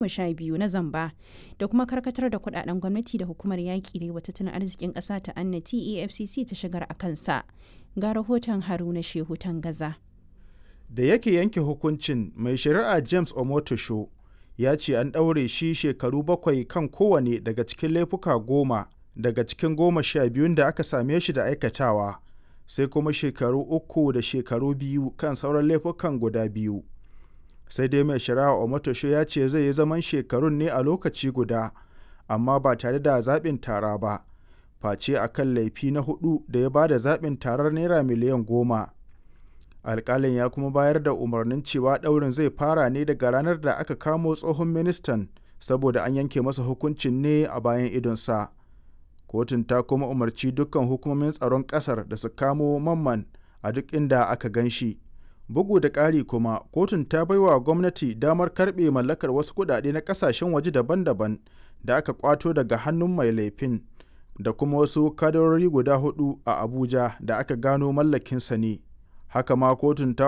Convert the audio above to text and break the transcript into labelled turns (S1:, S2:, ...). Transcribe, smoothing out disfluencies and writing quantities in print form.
S1: 12 na zamba da kuma karkatar da kudaden gwamnati da hukumar yaƙi da wa tattalin arzikin ƙasa ta annati EFCC ta shigar a kansa. Ga rahoton Haruna Shehu Tangaza.
S2: Da yake yanke hukuncin, mai shari'a James Omotosho ya ce an ɗaure shi shekaru 7 kan kowane daga cikin laifuka 10 daga cikin 12n da aka same shi da aikatawa, sai kuma shekaru 3 da shekaru 2 kan sauran laifukan guda biyu. Sai dai mai shari'a Omotosho ya ce zai yi zaman shekarun ne a lokaci guda, amma ba tare da zaɓin tara ba, face a kan laifi na huɗu da ya ba da zaɓin tarar Naira miliyan 10. Alƙalin ya kuma bayar da umarnin cewa ɗaurin zai fara ne daga ranar da aka kamo tsohon ministan saboda an yanke masa hukuncin ne a bayan idonsa. Kotun ta kuma umarci dukkan hukumomin tsaron ƙasar da su kamo Mamman a duk inda aka gan shi. Bugu da ƙari kuma, kotun ta baiwa gwamnati damar karɓe mallakar wasu kuɗaɗe na ƙasashen waje daban-daban da aka ƙwato daga hannun mai laifin da kuma wasu kadarori guda huɗu a Abuja da aka gano mallakinsa ne. Haka ma kotun ta